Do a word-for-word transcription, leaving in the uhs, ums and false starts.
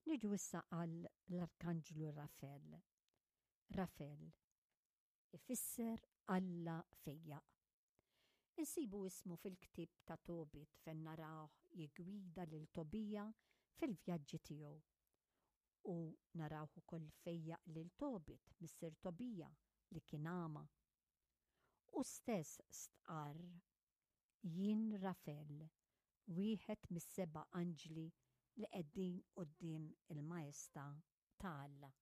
Niġu issa għal l-Arkanġlu Rafel. Rafel ifisser Alla fejjaq. Insibu ismu fil-ktieb ta' Tobit fejn narawh jiggwida lil Tobija fil-vjaġġi tiegħu. U narawh ukoll fejjaq lil Tobit, missier Tobija, li kien għama. Hu stess stqarr: "Jien Rafel, wieħed mis-seba' anġli li qegħdin quddiem il-Maestà ta' Alla."